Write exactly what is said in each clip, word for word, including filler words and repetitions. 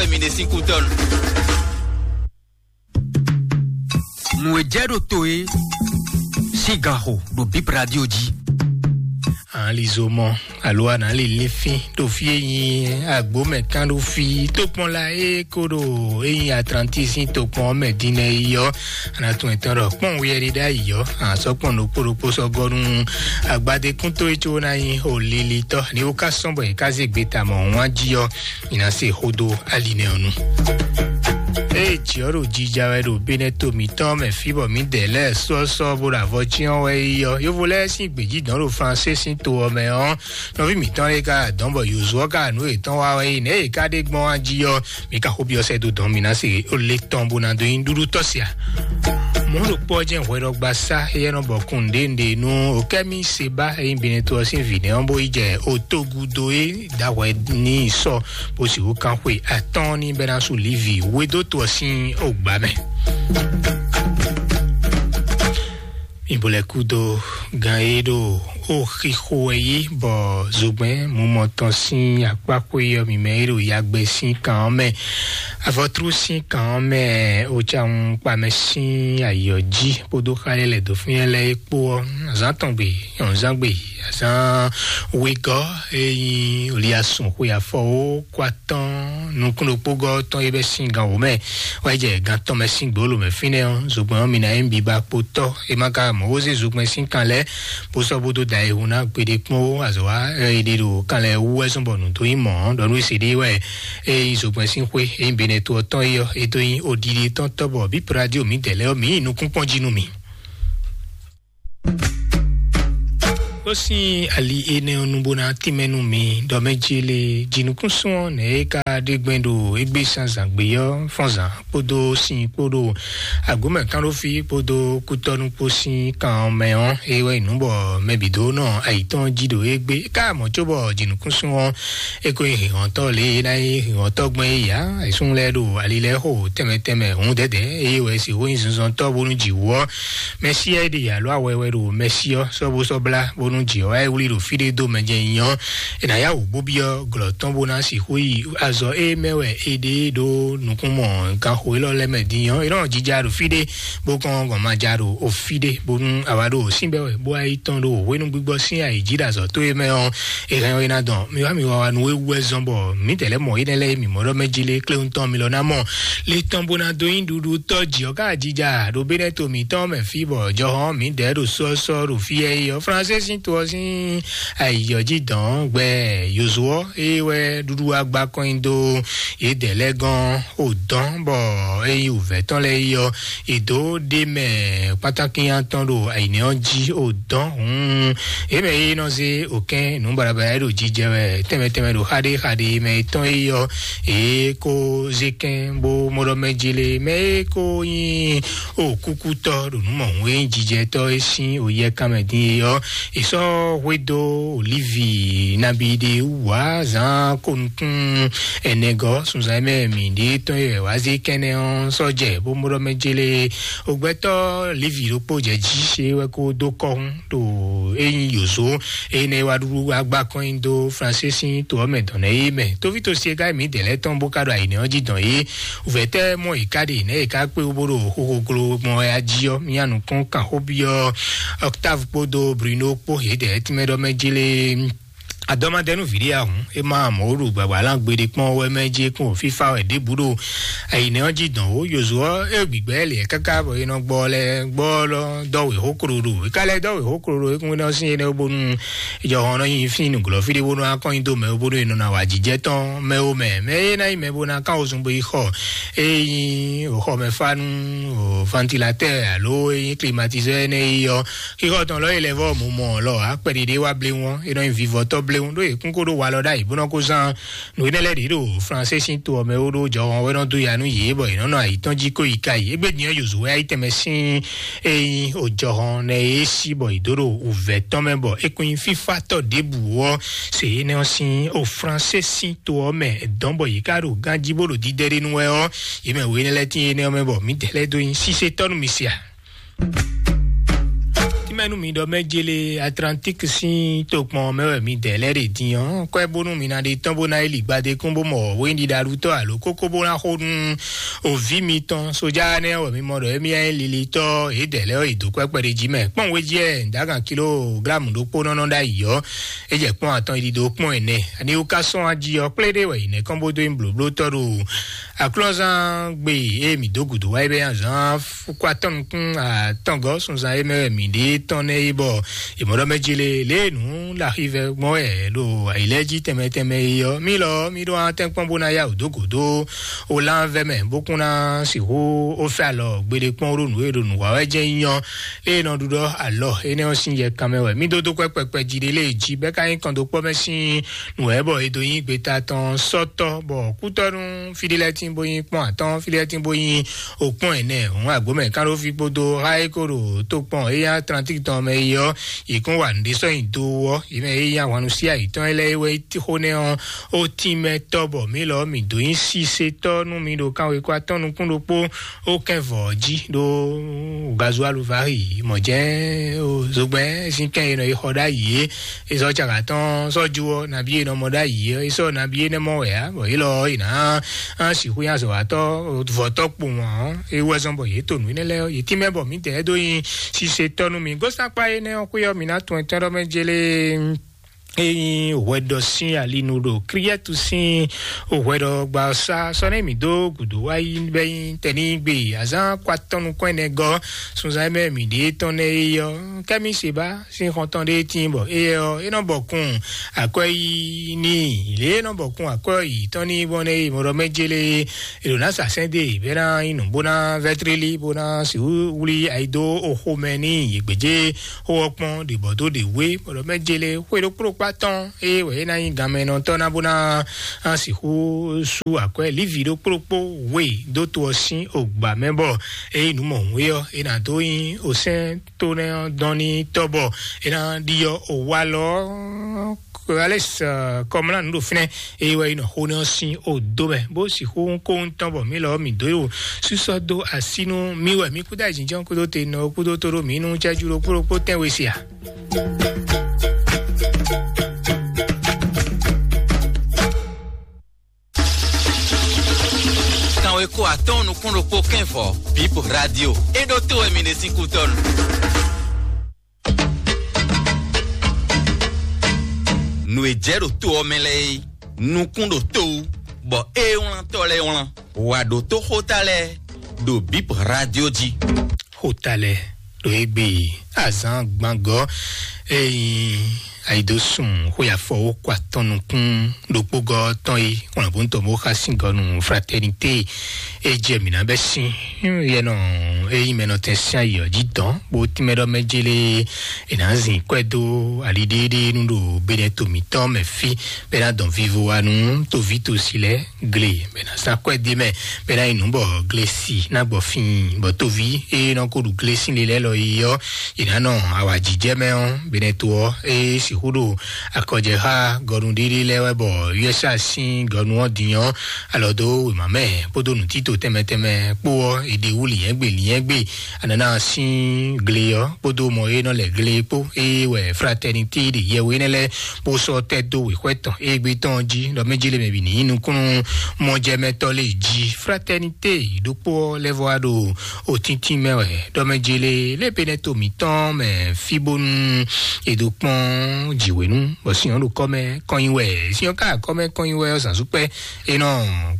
Mine sin kutɔnu. Nǔ e jɛ ɖo to e sín ganxo ɖo Bip Radio jí. Anlizomɔ alo analilifin ɖo fí e nyí agbomɛ kan ɖo fí tokpɔn la e ko ɖo e nyí Atlantis sín tokpɔn mɛ din nɛ yi ɔ́, ana tún etɔn ɖɔ kpɔn wuyɛ ɖi ɖ'ayǐ ɔ́, azɔ̌ kpɔn ɖokpó ɖokpó sɔ́ gɔ́ nú agbadékúntó e có ná nyí olilitɔ́ ní wó ká sɔ́ bɔ è ká zé gbe ta mɔ̌ wán jí ɔ́, mi ná se xó dó ali nɛ́ ɔ́ nu. Ée jǐ ɔ́ ɖo jija wɛ ɖo Benɛto mǐtɔn mɛ fí bɔ mǐdɛɛ lɛ́ɛ sɔ́sɔ́ bó ɖo avɔ cyɔ́n wɛ yi ɔ́, yovo lɛ́ɛ sín gbějí dɔn ɖo Fransé sín to ɔ́ mɛ ɔ́, nɔví mǐtɔn lɛ́ɛ ka dɔn bɔ Yozuɔ ka nǔ yětɔn wa wɛ yi nɛ̌ yě ka ɖe gbɔn wá jí ɔ́, mi ka xó byɔ́ sɛ́ dó dɔn mi ná se ó lé tɔn bó ná dó nyí ɖuɖu tɔ́ sia. Mɔ̌ ɖokpó ɔ́ jɛ́n hwɛɖɔgbasá éyɛ́ nɔ bɔ kun nǔɖé nǔɖé nú Okɛ́mi Seba e nyí Benɛto ɔ́ sín vǐ nɛ́ ɔ́ bó yi jɛ otogudo e dǎhwɛ n'i sɔ bó sixú kán xwe atɔ́ɔ́n ní bɛ́ ná su Livi wédóto ɔ́ sín ogbǎ mɛ. Mi bo lɛ́ kúdó gan e ɖo ó xixo wɛ yí bɔ zogbɛ́n mumɔ tɔn sín akpákpó e ɔ́ mi mɛ e ɖo yagbɛ sín kan ɔ́ mɛ, avɔtrú sín kan ɔ́ mɛ, ocaun kpamɛ sín ayǐ ɔ́ jí kpódó xá e lɛ̌ dó fínɛ́ lɛ́ɛ é kpó ɔ́, azǎn tɔn gbe, nyɔ̌nuzángbe, azǎn wegɔ́ e nyí Liasún xwe afɔ ó kó atɔ́ɔ́n nukún ɖokpógɔ́ tɔn e bɛ́ sín gan wǒ mɛ wá yi jɛ gan tɔn mɛ sín gbǒlo mɛ fínɛ́ ɔ́, zogbɛ́n ɔ́ mi ná nyí bibakpotɔ́. É má ka mɔ̌ wó zé zogbɛ́n sín kan lɛ́ɛ bó sɔ́ bó dó da ayihun ná gbeɖé kpɔ́n ó, azɔ̌ wa e ɖe ɖo kan lɛ́ɛ wú wɛ zɔ́n bɔ nǔ dó nyí mɔ̌ ɔ́, ɖɔ nú é se ɖé wɛ é nyí zogbɛ́n sín xwé e nyí Benɛto ɔ́ tɔn é ɔ́, é dó nyí oɖiɖe tɔn tɔ́ bɔ bǐ Pladiwo mǐdɛɛ lɛ́ɛ ɔ́, mǐ yi nukúnkpɔ́n jí nú mì. Ó sín ali énɛ́ ɔ́ nu bó ná tínmɛ nú mi ɖɔ mɛ jí lé jinukúnsún ɔ́ nɛ̌ é ka ɖe gbɛn ɖo égbé zǎnzǎn gbé ɔ́ fɔ́nzǎn kpódó sin kpódó agbǒmɛ kánɖófí kpódó kútɔ́nú kpó sín kan ɔ́ mɛ ɔ́, é wɛ nyí nǔ bɔ mɛ bǐ dó nɔ ayǐtɔn jí ɖo égbé. É ka mɔ̌ cóbɔ jinukúnsún ɔ́ é ko nyí hǐnhɔ́ntɔ́ lě e é ná nyí hǐnhɔ́ntɔ́ gbɛn é ǎ. È súnnu lɛ́ɛ ɖo ali lɛ́ɛ xo tɛnmɛ tɛnmɛ hǔn dɛ̌dɛ̌, eye wɛ è sixú nyí zunzɔntɔ́ bónú jǐ wú ɔ́. Mɛsíá e ɖe yǎ ló awɛ wɛ ɖo Mɛsí ɔ́ sɔ́ bó sɔ́ blá bónú jǐ ɔ́ wá yi wlí ɖo fí ɖé dó mɛ jɛ nyi ɔ́, è nǎ yá wǔ bó byɔ́ glɔ̌ tɔn bó ná sixú yi azɔ̌ e mɛ wɛ è ɖe ɖó nukúnmɔ ganxo élɔ́ lɛ́ɛ mɛ din ɔ́, è nɔ jija ɖo fí ɖé bó kɔn gɔn ma ja ɖo fí ɖé, bónú a wá ɖo sínbɛ́ wɛ bó wá yi tɔn ɖo hwenu gbígbɔ sín ayǐ jí ɖo azɔ̌ tó e mɛ ɔ́, è hɛn ɔ́ é ná dɔn. Mi wá mi wá wá nú é wú wɛ zɔ́n bɔ mǐdɛɛ lɛ́ɛ mɔ énɛ́ lɛ́ɛ e mǐ mɔ ɖɔ mɛ jí lé kléwún tɔn mi lɔ ná mɔ. Le tɔn bó ná dó nyí ɖuɖu tɔ́ jǐ ɔ́ ká jija ɖo Benɛto mǐtɔn mɛ fí bɔ jɔhɔn mǐdɛɛ ɖo sɔ́sɔ́ ɖo fí ɛ yi ɔ́, Fransé sín to ɔ́ sín ayǐ ɔ́ jí dɔn gbɛ Yozuɔ é wɛ ɖuɖu agba kɔn nyi dó yědɛɛ lɛ́ɛ gɔ́n o dɔn bɔ é nyí wǔvɛ́ tɔn lɛ́ɛ yi ɔ́, è dǒ ɖ'é mɛ kpátákínyá tɔn ɖo ayǐnɛ́ ɔ́ jí o dɔn hǔn. É mɛ e nɔ zé òkɛ́n nǔ baɖabaɖa e ɖo jijɛ wɛ tɛnmɛ tɛnmɛ ɖo xaɖé xaɖé mɛ tɔn é ɔ́, é kó zé kɛn bó mɔ ɖɔ mɛ jí lé mɛ é kó nyí o kúkútɔ́ ɖo nǔ mɔ̌hun e nyí jijɛtɔ́ e sín o yɛ kanmɛ dín é ɔ́, è sɔ́ hwedó olívi nabí ɖé wú ǎ zǎn kó nukún ɛnɛgɔ́ sunzan e mɛ mǐ ɖe tɔn e wá zé kɛnɛ ɔ́ sɔ́ jɛ bó mɔ ɖɔ mɛ jélé. Ogbɛtɔ́ Levi ɖokpó jɛ jí é wɛ kó dó kɔ́hún ɖo é nyí yǒzo énɛ́ wá ɖuɖu wá gbá kɔn nyi dó Fransé sín to ɔ́ mɛ dɔn nɛ́ é mɛ. Tóvíto siɛgá e mǐdɛɛ lɛ́ɛ tɔn bó ka ɖo ayǐnɛ́ ɔ́ jí dɔn é, wǔvɛ́ tɛ́ mɔ yě ká ɖe nɛ̌ yě ká kpé wú bó ɖo xóxó gló gbɔn wɛ a jí ɔ́, mía nukún kan xó byɔ́ Octave kpódó Bruno kpó yědɛɛ tínmɛ ɖɔ mɛ jélé. Adɔmadɛnú vǐɖé ahun é má mɔ̌ ɖo gbǎgbá lan gbeɖé kpɔ́n wɛ mɛ jí kún fífá wɛ ɖěbǔ ɖo ayǐnɛ́ ɔ́ jí dɔn ó. Yozuɔ é gbigbɛ lě káká bɔ é nɔ gbɔ lɛ gbɔ lɔ dɔwé xó klo ɖo é ká lɛ dɔwé xó klo ɖo é kún nɔ sín énɛ́ bónú jɔhɔn nɔ nyi fín nǔglɔ́ fí ɖé bónú akɔ́nyi dó mɛ bónú é nɔ ná wa jijɛ tɔn mɛ ó mɛ mɛ é ná nyí mɛ bó ná kán wozun bó yi xɔ é nyí xɔmɛfánu, ventilatɛ́ alo é nyí klimatizɛ́ énɛ́ yi ɔ́. Xixɔ tɔn lɔ yi lɛ vɔ mɔ mɔ lɔ akpɛ ɖiɖi wa bléwɔn é nɔ nyi vivɔtɔ bléwɔn ɖó yě kún kó ɖó walɔ ɖ'ayǐ bó nɔ kó zán nǔ énɛ́ lɛ́ɛ ɖě ɖo Fransé sín to ɔ́ mɛ ó ɖó jɔhɔn wɛ nɔ dó ya nú yě bɔ yě nɔ nɔ ayǐ tɔn jí kó yi ka yi. Égbé din ɔ́ Yozuwɛ ayí tɛnmɛ sín é nyí ojɔhɔn nɛ é sí bɔ yě dó ɖo wǔvɛ́ tɔn mɛ bɔ é kún nyí fífátɔ́ ɖěbǔ ɔ́ se énɛ́ ɔ́ sín o Fransé sín to ɔ́ mɛ dɔn bɔ yě ká ɖo ganjí bó ɖo dídɛ́ ɖé nú wɛ ɔ́, yě mɛ wě énɛ́ lɛ́ɛ tín énɛ́ ɔ́ mɛ bɔ mǐdɛɛ lɛ́ɛ dó nyí sísétɔ́ nú mi se a? Mɛnu mi ɖɔ mɛ jele Atlantique sín tokpɔn mɛ wɛ mi dɛ lɛ ɖe din ɔ́, kɔɛ bónú mi na ɖe tɔn bó ná yi li gbadé kún bó mɔ wéyín ɖiɖa ɖu tɔ́ alo kókó bó ná xó nú òví mitɔn sójà nɛ wɛ mi mɔ ɖɔ émí ɛ lili tɔ́ yě dɛ lɛ ɔ́ yi dó kɔɛ kpɛɖé jí mɛ kpɔn wé jí ɛ ǹdágan kilográmu ɖokpó nɔnɔ ɖ'ayǐ ɔ́, é jɛ kpɔn atɔn yi ɖiɖo kpɔn ɛnɛ. Ani wú ká sɔn ají ɔ́ kplé ɖé wɛ yi nɛkɔn bó dó nyi blǒbló tɔ́ ɖo aklɔ́zán gbe e mi dó gǔdo wá yi bɛ azán kó atɔ́ nukún atɔ́ngɔ́ sunzan e mɛ wɛ mi ɖe tɔn nɛ yi bɔ ìmọ̀ɖɔ mɛ jele lé nǔ laxivɛ gbɔn wɛ ɖo ayǐlɛ́ jí tɛnmɛ tɛnmɛ yi ɔ́ mi lɔ mi ɖó atɛ́nkpɔ́n bó ná yá wǔ dó gǔdo o lánvɛ mɛ bó kún ná sixú ó fɛ alɔ gbeɖé kpɔ́n ɖó nǔ e ɖo nǔ wa wɛ jẹ́ nyɔ lé nɔ ɖuɖɔ alɔ énɛ́ ɔ́ sín yɛ kanmɛ wɛ mi dó dó kpɛkpɛkpɛ jí ɖé lé jí bɛ́ ká nyí kɔn dó kpɔ́ mɛ sín nǔ wɛ bɔ è dó nyí gbeta tɔn sɔ́tɔ́ bɔ kútɔ́nú fíɖélɛ́tín bó nyí kpɔ́n atɔ́ɔ́n fíɖélɛ́tín bó nyí okpɔ́n ɛnɛ òun agbǒmɛ kánɖófí kpódó háyékóɖo tó kpɔn éyá atlantique tɔn mɛ yi ɔ́ yě kún wa nǔɖé sɔ́ nyi dó ɔ́ yě mɛ éyá hwannu sí ayǐtɔn lɛ́ɛ é wɛ xó nɛ́ ɔ́ ó tín mɛ tɔ́ bɔ mǐ lɔ mǐ dó nyí sísetɔ́ nú mi ɖo kanwekwa tɔn nukún ɖokpó ó kɛn vɔ̌ jí ɖó gazualu vari mɔ̌ jɛ́n zogbɛ́n sín kɛn e nɔ yi xɔ ɖ'ayǐ é. Esɔ caka tɔn sɔju ɔ nabi e nɔ mɔ ɖ'ayǐ ɔ esɔ nabi e nɛ mɔ wɛ a bɔ yi lɔ yi na an sixú ya zɔ atɔ vɔtɔ kpo wɔn ɔ ewu ɛzɔn bɔ yě to nǔ énɛ́ lɛ yě tínmɛ bɔ mǐ tɛ dó yin sise tɔnu mi gosakpa énɛ́ ɔ xwé ɔ mǐ ná tún ɛtɛn ɖɔ mɛ jele eyin hwɛɖɔ sín alinu ɖo kriɛtu sín hwɛɖɔ gba sá sɔnɛ mǐ dó gǔdo wá yí bɛ yí tɛní gbe azán kɔ atɔnu kɔn ɛnɛ gɔ sunzan mɛ mǐ ɖe tɔn nɛ yi ɔ kɛmi seba sín xɔntɔn ɖé tíin bɔ éyɛ ɔ́ é nɔ bɔ kun akwɛ́ yí ní lě é nɔ bɔ kun akwɛ́ yǐ tɔn ní bɔ nɛ yi mɔɖɔ mɛ jélé è ɖo ná sa sɛ́n dé bɛ́ ná nyí nǔ bó ná vɛ́trílí bó ná sixú wlí ayi dó oxo mɛ ní yě gbějé xó ɔ́ kpɔ́n ɖě bɔ dó ɖě wé mɔɖɔ mɛ jélé xwé ɖokpó ɖokpó atɔ́n é wɛ é ná nyí ganmɛnɔtɔ́ ná bó ná sixú sú akwɛ́ lívi ɖokpó ɖokpó wé dó to ɔ́ sín ogbǎ mɛ bɔ é nyí nǔ mɔ̌hun é ɔ́ é ná dó nyí osɛ́n to nɛ ɔ́ dɔn ní tɔ́ bɔ é ná ɖiɔ owalɔ alex kɔmlá nǔ ɖo fínɛ eye wɛ yi nɔ xo nɛ ɔ́ sín odo mɛ bó sixú kó ŋutɔn bɔ mí lɔ mí dó yò sísɔ dó asínú mí wɛ mí kúdó ayǐjínjɔ́n kúdó te nɔ kúdó tó ɖó mí nú jɛjú ɖokpó ɖokpó tɛ́nwe se a. Kanweko atɔ́ɔ́n nukún ɖokpó kɛ́n vɔ bip radio é ɖó tó wɛ mi ɖe sín kútɔ́nu. Nǔ e jɛ ɖo to ɔ́ mɛ lɛ́ɛ é nukún ɖo to wú bɔ é wlántɔ́ lɛ́ɛ wlán wǎ ɖótó xóta lɛ́ɛ ɖo bip radio jí. Xóta lɛ́ɛ ɖo égbé azán gbangɔ eyin ayidosun xwé afɔwó kɔ atɔn nukún ɖokpógɔ tɔn yi wlánbóntɔ bó xa síngɔ nù fraternité e jɛ mǐ ná bɛ sín yɛnɔ eyin mɛnɔ tɛn sín ayǐ ɔ́ jí dɔn bó tínmɛ ɖɔ mɛ jélé è nǎ zin kwɛ́ dó aliɖéɖé nú ɖo benɛ to mǐtɔn mɛ fí bɛ ná dɔn vivo wa nú toví tosi lɛ́ɛ gle bɛ ná zán kwɛ́ dé mɛ bɛ ná yi nǔ bɔ gle si ná gbɔ fíin bɔ toví e nɔ ko ɖu gle sín le lɛ́ɛ lɔ yi ɔ́ è nǎ nɔ awǎjijɛ mɛ ɔ́ benɛ to ɔ́ é sixú ɖo akɔjɛxá gɔnu ɖiɖi lɛ́ɛ wɛ bɔ usa sín gɔnu ɔ́ din ɔ́ alɔ dó wěma mɛ kpódó nǔtítò tɛnmɛ tɛnmɛ kpó ɔ́ è ɖe wú lǐnyɛ́gbe lǐnyɛ́gbe anana sín gle ɔ́ kpódó mɔ e nɔ lɛ gle kpó eye wɛ fraternité ɖe yɛwé nɛ lɛ́ɛ bó sɔ́ tɛ́ dó wěxwɛ́ tɔn égbé tɔn jí ɖɔ mɛ jélé mɛ bǐ ní nyí nukúnnú mɔjɛmɛtɔ́ lé jí fraternité ɖokpó ɔ́ lɛ́ vɔ wá ɖo òtíntín mɛ wɛ ɖɔ mɛ jélé lé benɛ to mǐtɔn mɛ fí bónú è dó kpɔ́n jǐwěnú bɔ sin ɔ́ ɖo kɔ́ mɛ kɔn nyi wɛ sin ɔ́ ká kɔ́ mɛ kɔn nyi wɛ ɔ́ zǎnzúkpɛ́ é nɔ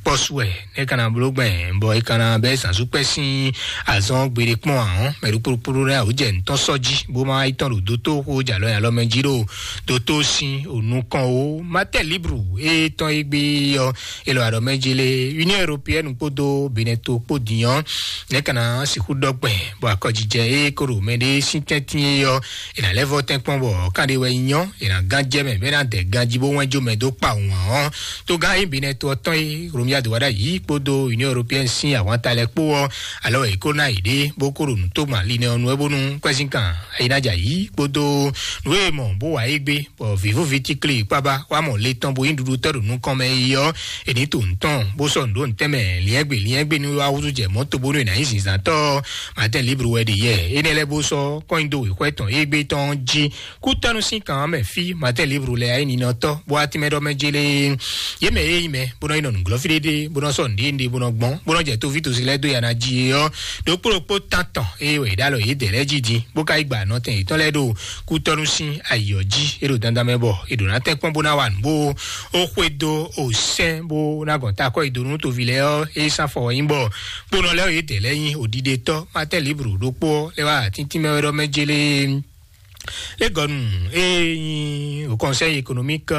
kpɔ́ sú wɛ é ka ná bló gbɛn bɔ é ka ná bɛ́ zǎnzúkpɛ́ sín azɔn gbeɖé kpɔn ahɔn mɛ ɖokpóɖokpó ɖó lɛ́ɛ awǒ jɛ nǔtɔn sɔ́ jí bó má yi tɔn ɖo dótó xó jalɔ alɔ mɛ jí ɖo dótó sín ònú kɔn ó matɛ libru é tɔn é gbé ɔ́ é lɔ alɔ mɛ jí lé union européenne kpódó benɛto kpó din ɔ́ é ka ná sixú ɖɔ gbɛn bɔ akɔjijɛ é kó ɖo mɛ ɖé sín tɛ́ntin é ɔ́ è nǎ lɛ́ vɔ tɛ́nkpɔ́n bɔ kánɖé wɛ nyɔ́ è nǎ gán jɛ mɛ bɔ é ná dɛ ganjí bó wɛ́n jó mɛ dó kpa wǎn ɔ́ tó gán é benɛto ɔ́ tɔn é romia dó wá ɖ'ayǐ kpódó union européenne yɛn sín ahwanta lɛ́ɛ kpó ɔ́, alɔ è kó ná yě ɖé bó kó ɖo nǔ tó gbɔn ali nɛ ɔ́ nu wɛ bónú kwɛ́zínkan é ná jɛ ayǐ kpódó nǔ e mɔ bó wa é gbé, bɔ vǐvúvi tíklí kpábá wá mɔ le tɔn bó nyí ɖuɖutɔ́ ɖo nukɔn mɛ é ɔ́, è ní to nǔ tɔn bó sɔ́ nǔ ɖó nǔtɛn mɛ liɛ́ngbě liɛ́ngbé ní wá húzú jɛ mɔ̌ to bónú è nǎ nyí zǐnzǎntɔ́. Martin Libre wɛ ɖe yɛ énɛ́ lɛ́ɛ bó sɔ́ kɔn nyi dó wěxwɛ́ tɔn égbé tɔn jí. Kútɔ́nú sín kan ɔ́ mɛ fí Martin Libre lɛ ayé ninɔtɔ́ bó wá tínmɛ ɖɔ mɛ jélé. Yě mɛ e nyí mɛ bó nɔ yi nɔ nǔglɔ́ fí ɖéɖé bó nɔ sɔ́ nǔɖé nǔɖé bó nɔ gbɔn bó nɔ jɛ tóví tosi lɛ́ɛ dó ya ná jí é ɔ́, ɖokpó ɖokpó tán tɔn eye wɛ è ɖó alɔ yědɛɛ lɛ́ɛ jí din bó ka yi gba nɔtɛn yětɔn lɛ́ɛ ɖo kútɔ́nú sín ayǐ ɔ́ jí é ɖo dandan mɛ bɔ è ɖǒ ná tɛ́n kpɔ́n bó ná wa nǔ bó ó xwedó ó sɛ́n bó ná gɔn ta akɔ́ yi dó nú toví lɛ́ɛ ɔ́ é sán fɔ wɛ nyí bɔ kpónɔ lɛ́ɛ yědɛɛ lɛ́ɛ nyí òɖiɖetɔ́ Martin Libre ɖokpó ɔ́ lɛ́ wá atíntí mɛ wɛ ɖɔ mɛ jélé. Légɔnu e nyi o conseil économique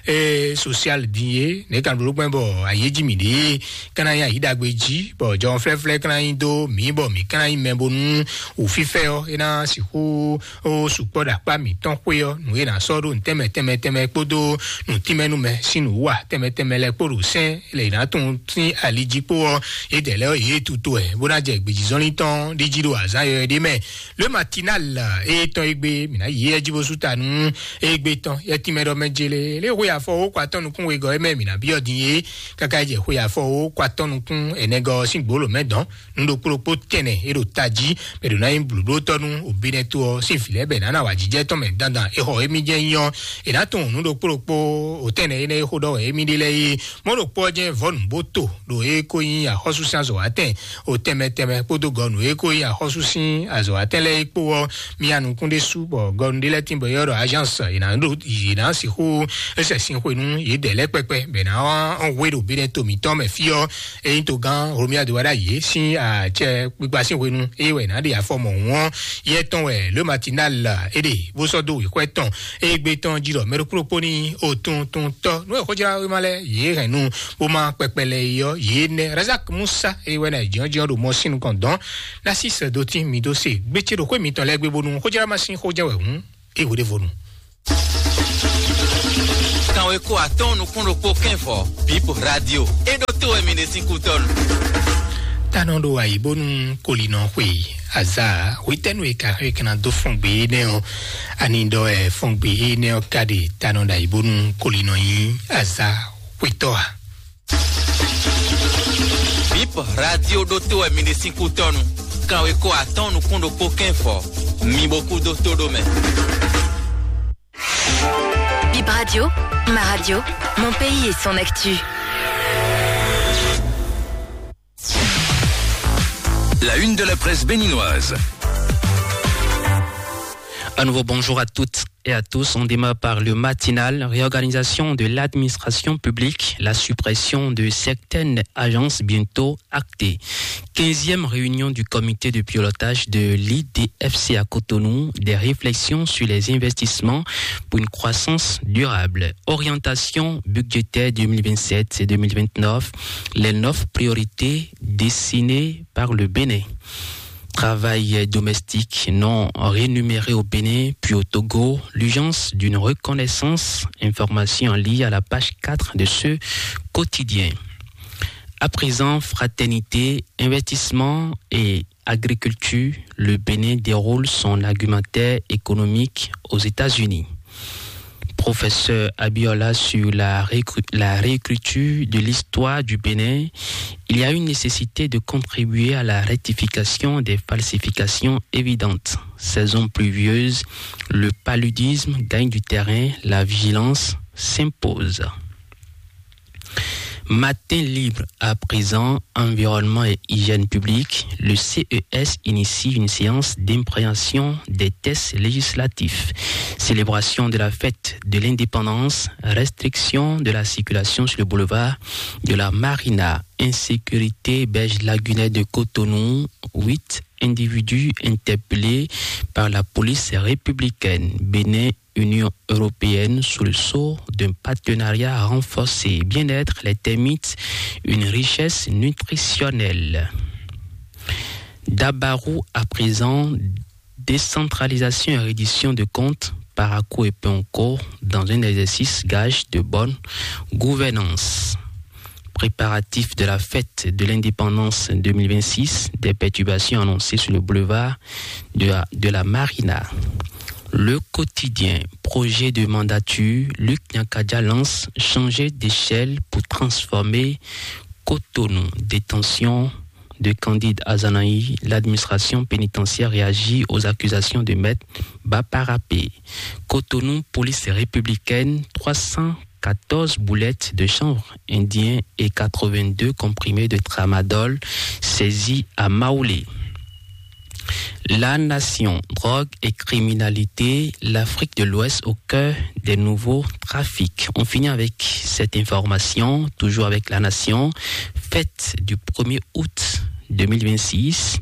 et social din ye ne kan ɖo gbɛn bɔ ayeji mi ɖe kana ya yi dagbe ji bɔ jɔn flɛflɛ kana yi do mi bɔ mi kana yi mɛ bonu o fifɛ ɔ e na siku o sukpɔ ɖo akpa mitɔn xwe ɔ nu e na sɔ ɖo ntɛmɛ tɛmɛ tɛmɛ kpodo nu timɛnu mɛ sin nu wa tɛmɛ tɛmɛ lɛ kpo ɖo sɛn le na tun sin ali ji kpo ɔ e dɛ lɛ ye tutu ɛ bo na jɛ gbejizɔnlin tɔn ɖi ji ɖo azan yɔyɔ ɖe mɛ. Le Matinal etɔn egbe mina yi yɛ ji bo su ta nu egbe tɔn yɛ timɛ ɖɔ mɛ jele le xwe afɔ wo kɔ atɔn nukun wegɔ mɛ mina biɔ din ye kaka jɛ xwe afɔ wo kɔ atɔn nukun ɛnɛgɔ sin gbolo mɛ dɔn nu ɖokpó ɖokpó tɛnɛ e ɖo tají bɛ ɖo na nyi blǔɖótɔ́ nú òbínɛ́ tó ɔ sín vǐ lɛ́ɛ bɛ nǎ na wǎjijɛ tɔn mɛ dandan e xɔ émí jɛ nyɔ e nǎ tunwun nu ɖokpó ɖokpó òtɛnɛ énɛ́ e xó ɖɔ wɛ émí ɖe lɛ́ɛ é. Mɔ̌ ɖokpó ɔ́ jɛ́n vɔ̌ nǔbóto ɖo e ko nyí axɔ́súsín azɔ̌watɛn o tɛnmɛ tɛnmɛ kpódó gɔnu e ko nyí axɔ́súsín azɔ̌watɛn lɛ́ɛ é kpó ɔ́, mia nukún ɖé sú bɔ gɔnu ɖé lɛ́ɛ tín bɔ yɔ́ ɖɔ agence yě ná ɖo yě ná sixú é sɛ sin xwe nú yědɛɛ lɛ́ɛ kpɛkpɛ bɛ ná hwe ɖo bínɛ́ to mǐtɔn mɛ fí ɔ́. Ényí togán Romia de wá ɖ'ayǐ sín acɛ kpikpa sín hwenu eye wɛ nǎ ɖe afɔ mɔ̌hun ɔ́, yɛ tɔn wɛ Le Matinal é ɖe bó sɔ́ dó wěxwɛ́ tɔn. Eye gbe tɔn jí ɖɔ mɛ ɖokpó ɖokpó ní otuntun tɔ́ nú e xójláwéma lɛ́ɛ yě hɛn nu bó má kpɛkpɛ lɛ é ɔ́, yě nɛ́ Razak Musa eye wɛ ná jǐɔ́jǐɔ́ ɖo mɔ sín nukɔn dɔn. Ná sí sɛ́dó tín mi dó se gbécé ɖo xwé mitɔn lɛ́ɛ gbé bónú xójláma sín xó jɛ wɛ hǔn é hweɖévonu. Kanweko atɔ́ɔ́n nukún ɖokpó kɛ́nvɔ Bip Radio. É ɖó tó wɛ mi ɖe sín kútɔ́nu. Tanɔ ɖo ayǐbónú kolinɔ xwe azá hwetɛ́nu e ka xɔ e kana dó fɔn gbe énɛ́ ɔ́, ani ɖɔ ɛ fɔn gbe énɛ́ ɔ́ ka ɖe tanɔ ɖo ayǐbónú kolinɔ nyí azá hwetɔ́ a? Bip Radio ɖó tó wɛ mi ɖe sín kútɔ́nu. Kanweko atɔ́ɔ́n nukún ɖokpó kɛ́nvɔ. Mi bo kú dó tó ɖó mɛ. Bip Radio, ma radio, mon pays et son actu. La une de la presse béninoise. Un nouveau bonjour à toutes et à tous. On démarre par le matinal. Réorganisation de l'administration publique, la suppression de certaines agences bientôt actée. Quinzième réunion du comité de pilotage de l'I D F C à Cotonou, des réflexions sur les investissements pour une croissance durable. Orientation budgétaire deux mille vingt-sept et deux mille vingt-neuf, les neuf priorités dessinées par le Bénin. Travail domestique non rémunéré au Bénin, puis au Togo, l'urgence d'une reconnaissance, information en ligne à la page quatre de ce quotidien. À présent, fraternité, investissement et agriculture, le Bénin déroule son argumentaire économique aux États-Unis. Professeur Abiola sur la, réécri- la réécriture de l'histoire du Bénin, il y a une nécessité de contribuer à la rectification des falsifications évidentes. Saison pluvieuse, le paludisme gagne du terrain, la vigilance s'impose. Matin libre à présent, environnement et hygiène publique, le C E S initie une séance d'impréhension des tests législatifs. Célébration de la fête de l'indépendance, restriction de la circulation sur le boulevard de la Marina, insécurité belge lagunaire de Cotonou, huit individus interpellés par la police républicaine. Bénin, Union européenne sous le sceau d'un partenariat renforcé. Bien-être, les termites, une richesse nutritionnelle. Dabarou à présent, décentralisation et reddition de comptes, Parakou et Ponko dans un exercice gage de bonne gouvernance. Préparatifs de la fête de l'indépendance deux mille vingt-six, des perturbations annoncées sur le boulevard de la, de la Marina. Le quotidien, projet de mandature, Luc Nyakadja lance changer d'échelle pour transformer Cotonou. Détention de Candide Azanaï, l'administration pénitentiaire réagit aux accusations de maître Baparapé. Cotonou, police républicaine, trois cent quatorze boulettes de chanvre indien et quatre-vingt-deux comprimés de tramadol saisis à Maoulé. La nation, drogue et criminalité, l'Afrique de l'Ouest au cœur des nouveaux trafics. On finit avec cette information, toujours avec la nation. Fête du premier août deux mille vingt-six,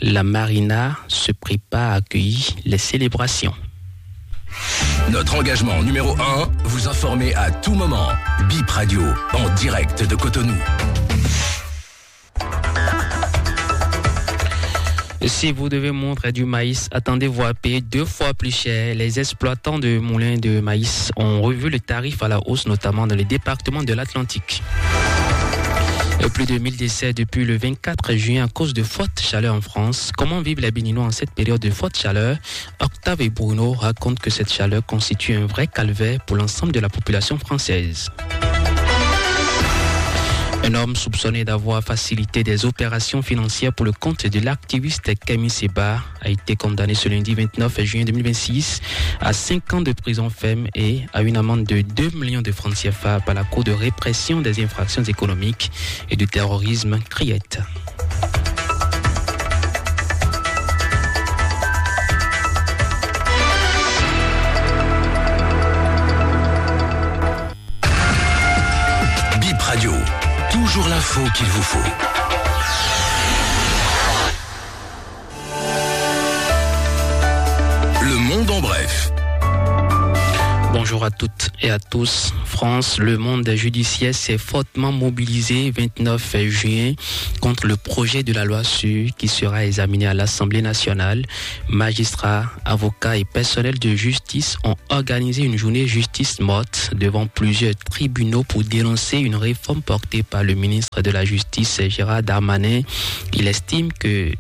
la Marina se prépare à accueillir les célébrations. Notre engagement numéro un, vous informer à tout moment. Bip Radio, en direct de Cotonou. Si vous devez moudre du maïs, attendez-vous à payer deux fois plus cher. Les exploitants de moulins de maïs ont revu le tarif à la hausse, notamment dans les départements de l'Atlantique. Et plus de mille décès depuis le vingt-quatre juin à cause de fortes chaleurs en France. Comment vivent les Béninois en cette période de forte chaleur ? Octave et Bruno racontent que cette chaleur constitue un vrai calvaire pour l'ensemble de la population française. Un homme soupçonné d'avoir facilité des opérations financières pour le compte de l'activiste Kemi Seba a été condamné ce lundi vingt-neuf juin deux mille vingt-six à cinq ans de prison ferme et à une amende de deux millions de francs C F A par la Cour de répression des infractions économiques et du terrorisme, Criette. Bip Radio, toujours l'info qu'il vous faut. Le monde en bref. Bonjour à toutes et à tous. France, le monde judiciaire s'est fortement mobilisé vingt-neuf juin contre le projet de la loi sûre qui sera examiné à l'Assemblée nationale. Magistrats, avocats et personnel de justice ont organisé une journée justice morte devant plusieurs tribunaux pour dénoncer une réforme portée par le ministre de la Justice, Gérald Darmanin. Il estime que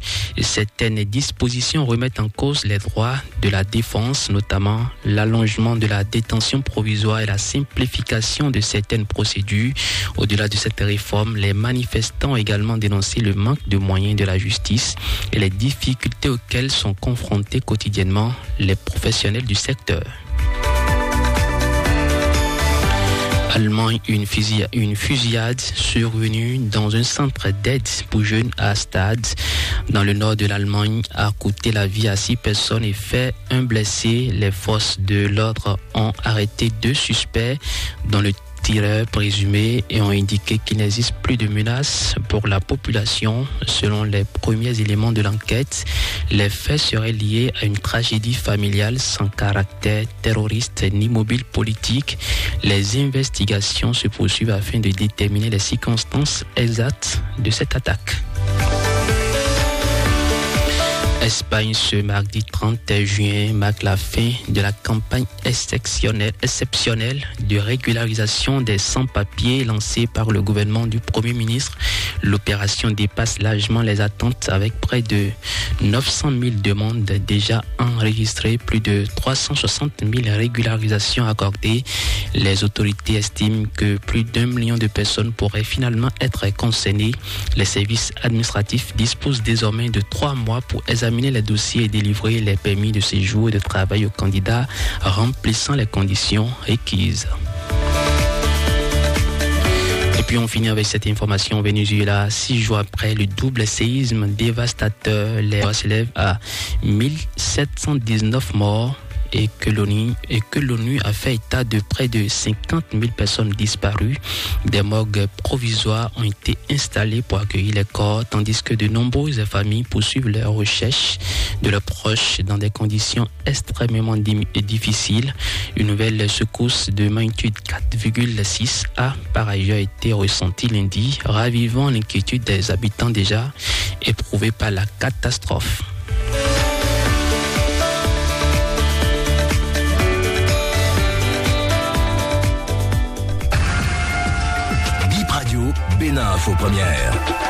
certaines dispositions remettent en cause les droits de la défense, notamment l'allongement de la détention provisoire et la simplification de certaines procédures. Au-delà de cette réforme, les manifestants ont également dénoncé le manque de moyens de la justice et les difficultés auxquelles sont confrontés quotidiennement les professionnels du secteur. Allemagne, une fusi-, une fusillade survenue dans un centre d'aide pour jeunes à Stade, dans le nord de l'Allemagne, a coûté la vie à six personnes et fait un blessé. Les forces de l'ordre ont arrêté deux suspects, dont le tireur présumé, et ont indiqué qu'il n'existe plus de menace pour la population. Selon les premiers éléments de l'enquête, les faits seraient liés à une tragédie familiale sans caractère terroriste ni mobile politique. Les investigations se poursuivent afin de déterminer les circonstances exactes de cette attaque. Espagne, ce mardi trente juin marque la fin de la campagne exceptionnelle, exceptionnelle de régularisation des sans-papiers lancée par le gouvernement du Premier ministre. L'opération dépasse largement les attentes avec près de neuf cent mille demandes déjà enregistrées, plus de trois cent soixante mille régularisations accordées. Les autorités estiment que plus d'un million de personnes pourraient finalement être concernées. Les services administratifs disposent désormais de trois mois pour examiner les dossiers et délivrer les permis de séjour et de travail aux candidats remplissant les conditions requises. Et puis on finit avec cette information. Au Venezuela, six jours après le double séisme dévastateur, les morts s'élèvent à mille sept cent dix-neuf morts et que l'ONU, et que l'ONU a fait état de près de cinquante mille personnes disparues. Des morgues provisoires ont été installées pour accueillir les corps, tandis que de nombreuses familles poursuivent leurs recherches de leurs proches dans des conditions extrêmement dim-, difficiles. Une nouvelle secousse de magnitude quatre virgule six a par ailleurs été ressentie lundi, ravivant l'inquiétude des habitants déjà éprouvés par la catastrophe. Bip Radio, Info Première.